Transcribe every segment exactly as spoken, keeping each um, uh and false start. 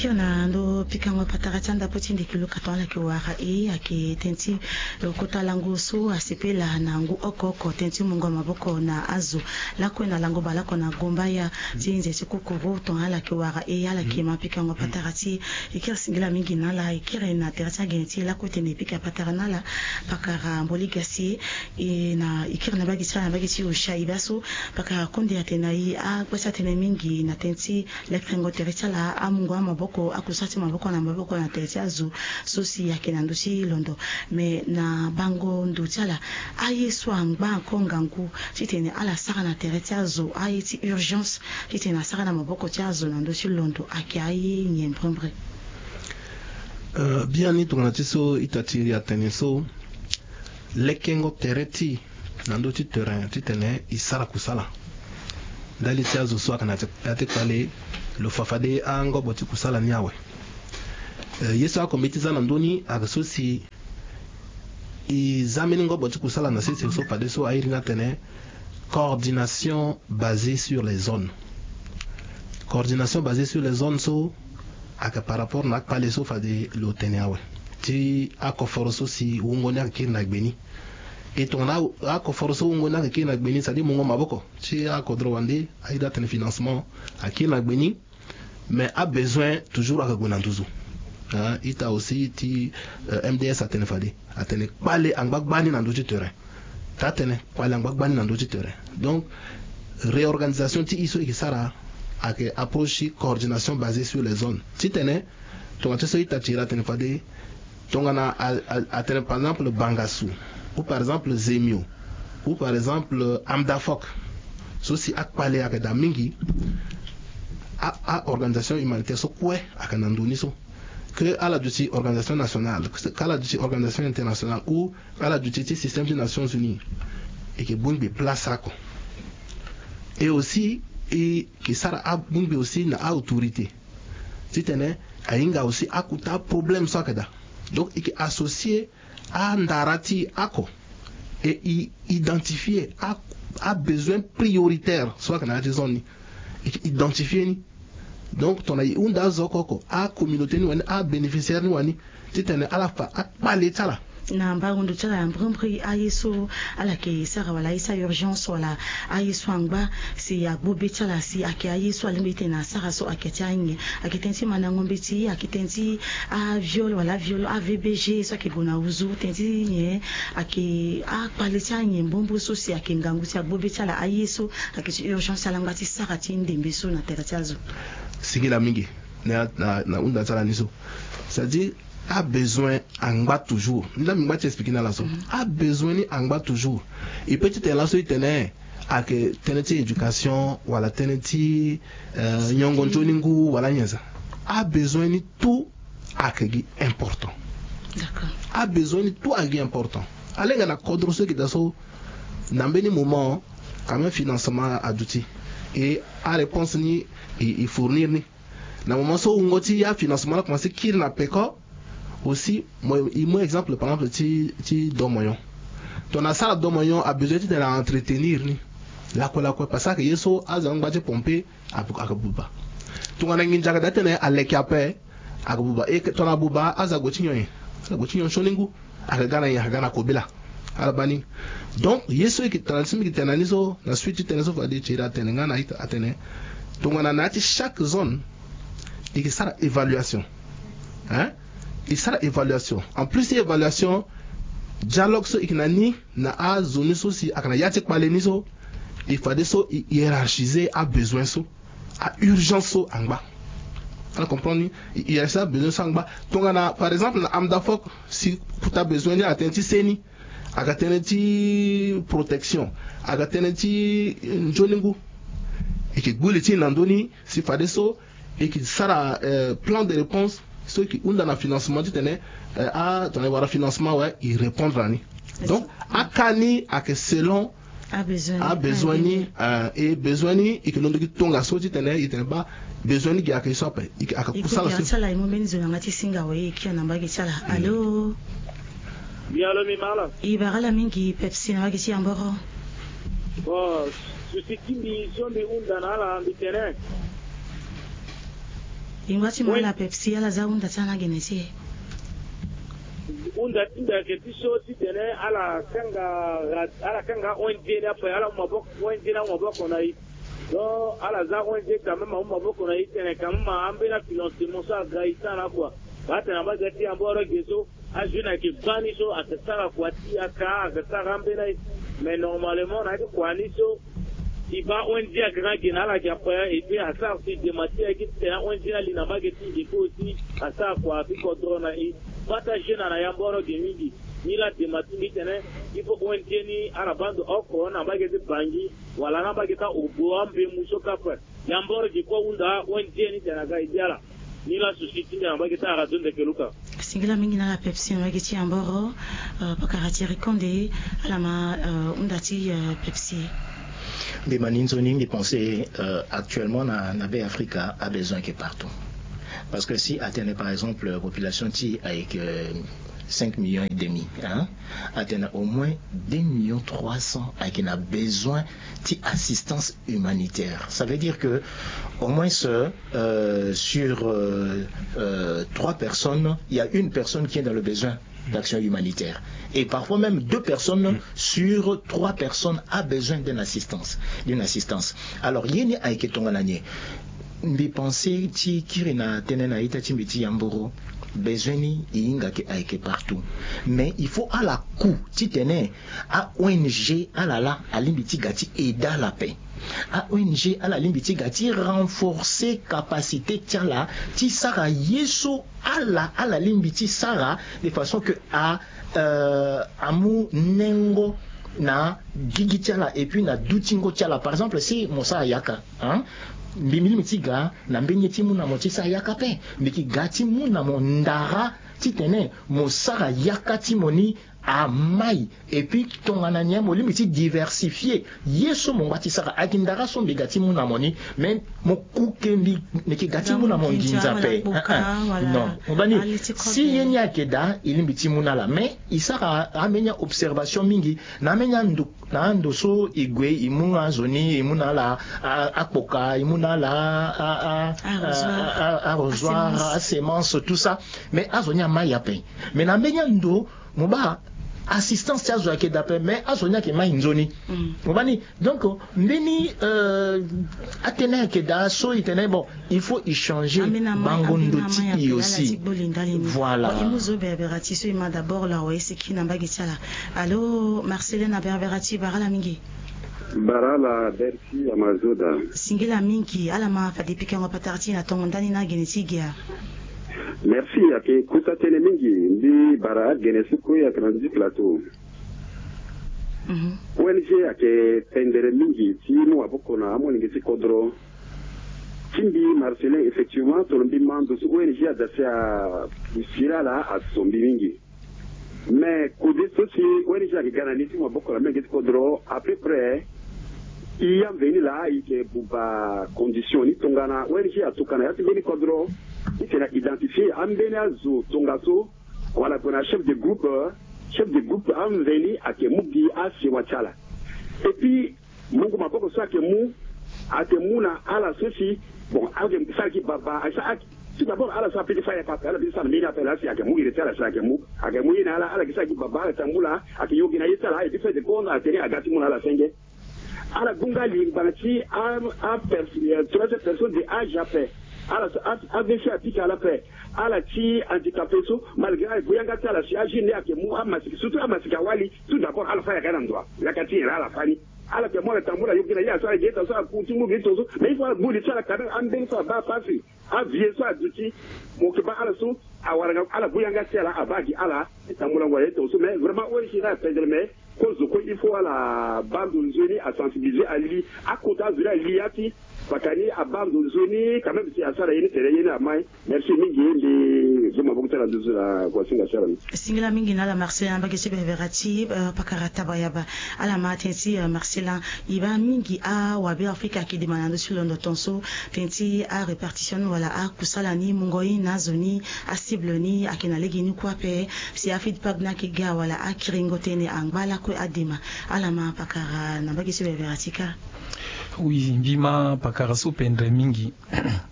Na ndo pikango patara ti andapo ti ndiki luka ton ala yeke wara e ayeke tënë ti kota lango so asepela na ngu oko oko tënë ti mungo maboko na azo. Lakue na lango baleoko na gombaya ti nze ti kukuru ton ala yeke wara e ala yeke ma pikango patara ti e. Kiri singila mingi na ala, e kiri na tere ti agene ti e lakue tene e pika patara na ala. Pakara mboli gasi e na e kiri na bagi ti ala na bagi ti osha e baa so pakara konde atene na e agba ti atene mingi na tënë ti lekengo tere ti ala, amungo amaboko, akusara ti maboko na maboko na tere ti azo so si ayeke na ndö ti londo. Me na bango ndo ti ala, aye so angba encore ngangu titene ala sara na tere ti azo, aye ti urgence titene asara na maboko ti azo na ndö ti londo ayeke aye nyen mbrimbri? Euh, biani tongana ti so ita ti iri atene so lekengo tere ti na ndö ti terrain titene e sara kusala ndali ti azo so ayeke na ya ti kpale, lo fa fade angobo ti kusala ni awe. Eh, ye so akombe ti za na ndö ni ayeke so si e za mbeni ngobo ti kusala na sese so fadeso airi ni atene coordination basée sur les zones. Coordination basée sur les zones so ayeke par rapport na akpale so fade lo tene awe ti akoforo so si wungo ni ayeke kiri na gbe ni. E tongana akoforo so wungo ni ayeke kiri na gbe ni, c'est-à-dire mungo maboko ti akodro wande, aye ti atene financement akiri na gbe ni. Mais abesoin toujours ayeke gue na nduzu. Hein, ita aussi ti, euh, M D S atene fade, atene kpale angba gbani na ndö ti terrain. Taa tënë, kpale angba gbani na ndö ti terrain. Donc réorganisation ti e so e yeke sara ayeke approche ti coordination basée sur les zones. Titene tongana ti so ita ti iri atene fade, tongana a, a, atene par exemple Bangassou, ou par exemple Zemio, ou par exemple Amdafok, so si akpale ayeke daa mingi, a, a organisation humanitaire so kue ayeke na ndo ni so. Que ala duti organisation nationale, que ala duti organisation internationale, ou ala duti ti système ti Nations Unies, e yeke bongbi place oko. Et aussi e yeke sara abongbi aussi na a-autorité titene ahinga aussi akota aproblème so ayeke daa. Donc e yeke associer andara ti e oko, e identifier a, abesoin prioritaire so ayeke na ya ti zone ni. E yeke identifier ni. Donc tongana e hunda azo oko oko, acommunauté ni wani, abénéficiaire ni wani, titene ala fa akpale ti ala. Na mbango ndo ti ala ya mbrimbri, aye so ala yeke sara wala aye ti a-urgence wala aye so angba si agbu be ti ala, si ayeke aye so alingbi titene asara so ayeke ti anyen? Ayeke tënë ti mandango mbeti, ayeke tënë ti aviol wala aviol, a-V B G so ayeke gue na nduzu, tënë ti nyen? Ayeke akpale ti anyen mbrimbri so si ayeke ngangu si agbu be ti ala, aye so ayeke ti urgence ala ngba ti sara ti ndembe so na tere ti azo. Singila mingi na, na, na hunda ti ala ni so. C'est-à-dire abesoin angba toujours. Ni laa mbi ngba ti expliquer ni ala so. Mhm. Abesoin ni angba toujours. E peut ti tene laso e tene ayeke tënë ti éducation wala tënë ti, euh, nyongo nzoni ngu wala nyen sa. Abesoin ni tout ayeke gi important. D'accord. Abesoin ni tout ayeke gi important. Alenga na kodro so e yeke daa so na mbeni moment quand même financement aduti. Et aréponse ni e, e fournir ni. Na moment so wungo ti afinancement la commencé kiri na peko aussi, mo, e mu exemple par exemple ti, ti domoyon. Tongana asara domoyon abesoin titene a-entretenir ni lakue lakue parce que ayeke ye so azo angba ti pompe ayeke buba. Tongana nginza ayeke daa titene aleke ape, ayeke buba. E tongana abuba azo ague ti nyon nyen? Azo ague ti nyon sioni ngu. Ayeke ga na nyen? Ayeke ga na kobela. Ala baa ni. Donc ye so e yeke tara na ti mbi yeke tene na ni so na suite ti tënë so fade ti iri atene nga na ita atene tongana na ya ti chaque zone e yeke sara évaluation. Hein? E sara évaluation. En plus ti évaluation, dialogue so e yeke na ni na azo ni so si ayeke na ya ti kpale ni so, e fadeso e hiérarchiser abesoin so, a-urgence so angba. Ala comprendre ni? E hiérarchiser abesoin so angba. Tongana par exemple na Amdafok, si kota besoin ni ayeke tënë ti seni, ayeke tënë ti protection, ayeke tënë ti nzoni ngu, e yeke gbu li ti e na ndö ni si fadeso e yeke sara, euh, plan de réponse so e yeke hunda na financement titene, euh, a tongana e wara financement awe e répondre na ni. Donc aka ni ayeke selon abesoin ni, euh, e besoin ni e yeke londo gi tongaso titene e tene baa besoin ni gi ayeke ye so ape. E yeke kusala so. Ti ala e mu mbeni zo na yanga ti singa awe, e kiri na mbage ti ala. Allô? Oui, allô, mbi ma ala. E bara ala mingi, Pepsi na mbage ti Yamboro. Bon, souci ti mbi so mbi hunda na ala mbi tene Lingba ti mo ala Pepsi, ala za hunda ti ala na gene ti e. Hunda ti mbi ayeke ti so titene ala kanga, ala kanga O N G ni ape, ala mu maboko, O N G ni amu maboko na e. Donc ala za O N G quand même amu maboko na e titene quand même ambeni afinancement so aga e ti ala kua. Baa tene na mbage ti Yamboro ge so ajeune ayeke baa ni so ayeke sara kua ti yaka, ayeke sara ambeni aye. Mais normalement na ya ti kua ni so e baa O N G ayeke na ge na ala ge ape, et puis asara si dema ti e ayeke titene O N G ni ali na mbage ti e, et puis aussi asara kua ti kodro na e. Baa ti ajeune na Yamboro ge mingi. Ni laa dema ti mbi titene il faut O N G ni ala baa ndo oko na mbage ti Bangui wala na mbage ti Obo, ambemu so kâ ape. Yamboro gi kue ahunda O N G ni tene aga e bi ala. Ni laa souci ti mbi na mbage ti ara zo ndeke luka. Singila mingi na ala Pepsi na mbage ti Yamboro. Euh, pakara Thierry Condé, ala ma, euh, hunda ti, euh, Pepsi. Mbi ma ni nzoni, mbi pense, euh, actuellement na, na Be Afrika abesoin ayeke partout. Parce que si atene par exemple population ti e ayeke, euh, cinq millions et demi, hein, atene au moins deux millions trois cents ayeke na besoin ti assistance humanitaire. Ça veut dire que au moins, euh, sur, euh, euh, trois personnes, il y a une personne qui est dans le besoin d'action humanitaire. Et parfois même deux personnes sur trois personnes a besoin d'une assistance, d'une assistance. Alors, ye ni ayeke tongana nyen? Mbi pense ti kiri na tënë na ita ti mbi ti Yamboro, besoin ni e hinga ke ayeke partout. Mais il faut ala ku titene a O N G ala laa alingbi ti ga ti aide ala ape. A O N G ala lingbi ti ga ti renforcer capacité ti ala ti sara ye so ala, ala lingbi ti sara, de façon que a, euh, amu nengo na gigi ti ala et puis na dutingo ti ala. Par exemple si mo sara yaka, hein, mbi, mbi lingbi ti ga na mbeni ye ti mu na mo ti sara yaka ape. Mbi yeke ga ti mu na mo ndara titene mo sara yaka ti mo ni amai. Et puis tongana nyen mo lingbi ti diversifier ye so mo ngba ti sara? Ayeke ndara so mbi ga ti mu na mo ni, mais mo ku ke mbi, mbi yeke ga ti mu na mo nginza ape. Hein, hein. Non, mo baa ni, si ye ni ayeke daa e lingbi ti mu na ala, mais e sara ambeni aobservation mingi na ambeni ando, na ando so e gue e mu azo ni, e mu na ala a, akpoka, e mu na ala a, a, a, a, arrosoir, asemence, tout ça. Mais azo ni amai ape. Mais na mbeni ando mo baa assistance ti azo ayeke daa ape, mais azo ni ayeke mai nzoni. Mo baa ni? Donc mbeni, euh, atënë ayeke daa so e tene bon, il faut e changer bango ndo ti e aussi. Voilà. Bon, e mu zo berbera ti so e ma d'abord lo awe e seki na mbage ti ala. Allô, Marcelin na berbera ti, bara ala mingi. Bara ala Bercy, ama zo daa. Singila mingi, ala ma fade pikango patara ti e na tongo ndani na gene ti ge a. Merci, ayeke kota tënë mingi. Mbi bara agene so kue ayeke na ndö ti plateau. Mhm. O N G ayeke pendere mingi ti mu maboko na amolenge ti kodro. Ti mbi Marcelin, effectivement, tongana mbi ma ndo so O N G ada si asiri ala, aso mbi mingi. Mais kode so si O N G ayeke ga na ni ti mu maboko na amolenge ti kodro, à peu près e ya mveni laa e yeke buba condition ni. Tongana O N G atuka na ya ti mbeni kodro, e yeke na identifier ambeni azo tongaso, wala gue na chef de groupe, chef de groupe amveni ayeke mu gi asewa ti ala. Et puis mungo maboko so ayeke mu, ayeke mu na ala so si, bon, ayeke sara gi baba, ayeke sara, tout d'abord ala so apeut ti fâ yaka ape, ala peut ti sara mbeni ape laa si ayeke mu iri ti ala si ayeke mu, ayeke mu ye na ala, ala yeke sara gi baba, ala tambula, ayeke yo gi na ye ti ala, et puis fait de compte atene aga ti mu na ala senge. Ala gue nga lingba ti a, a pers-, euh, troisième personne de âge ape. Ala so a, A V C apika ala ape. Ala ti handicapé so, malgré ala gue yanga ti ala si ajeune ni ayeke mu amasiki, surtout amasiki awali, tout d'abord ala fâ yaka na ndo wa. Yaka ti nyen laa ala fâ ni? Ala yeke mu ala tambula yo gi na ye, aso ala gi ye tongaso, ala ku ti ngu gi tongaso. Mais il faut ala mu li ti ala quand même, ambeni so abaa pasi, avieux so aduti, mo yeke baa ala so awara nga, ala gue yanga ti ala abaa gi ala ti tambulango aye tongaso. Mais vraiment O N G ni apendere, mais kozo kue il faut ala baa ndo nzoni, asensibiliser, ali akota azo ni, ali ya ti paka ni, abaa ndo nzoni quand même si asara ye ni tere ye ni amai. Merci mingi, mbi zo maboko ti ala nduzu na kua singa ti ala ni. Singila mingi na ala Marcelin na mbage ti bebera ti, euh, pakara Tabayaba. Ala ma tënë ti, euh, Marcelin. E baa mingi awabe Afrika ayeke dema na ndö ti londo tongaso, tënë ti arépartition ni wala akusala ni, mungo ye na azo ni, acible ni ayeke na lege ni kue ape. Si afeedback ni ayeke ga wala akiringo tënë angba lakue adema. Ala ma pakara na mbage ti bebera ti kâ. Oui, mbi ma pakara so pendre mingi.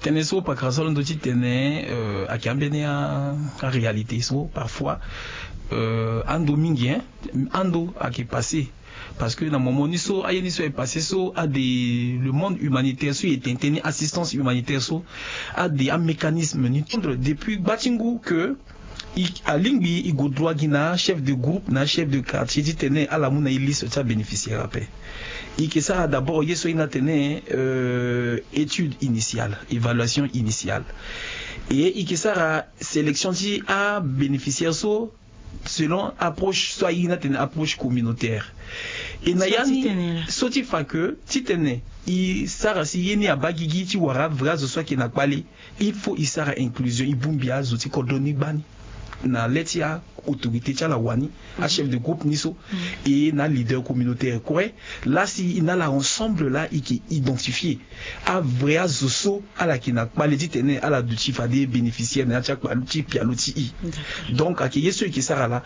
Tënë so pakara so alondo ti tene, euh, ayeke ambeni a, a réalité so parfois, euh, ando mingi, hein, ando ayeke passé. Parce que na moment ni so aye ni so ayeke passé so ade le monde humanitaire so e tene tënë ni, assistance humanitaire so ade amécanisme ni tendre depuis gba ti ngu que i, alingbi i go droit gi na achef de groupe na achef de quartier ti tene ala mu na e liste ti abénéficiaire ape. I yeke sara d'abord ye so aye ni atene, euh, étude initiale, évaluation initiale. Et i yeke sara sélection ti abénéficiaire so selon approche so aye ni atene approche communautaire. Et na ya ni so ti fa que ti tene i sara si ye ni abaa gigi ti wara vrai azo so ayeke na kpale. Il faut i sara inclusion, i bongbi azo ti kodro ni gbani na le ti aautorité ti ala wani, achef de groupe ni so, et na aleader communautaire kue. Laa si i na ala ensemble laa i yeke identifier avrai azo so ala yeke na kpale ti tene ala duti fade bénéficiaire na ya ti akpale ti pialo ti i. Donc ayeke ye so i yeke sara laa.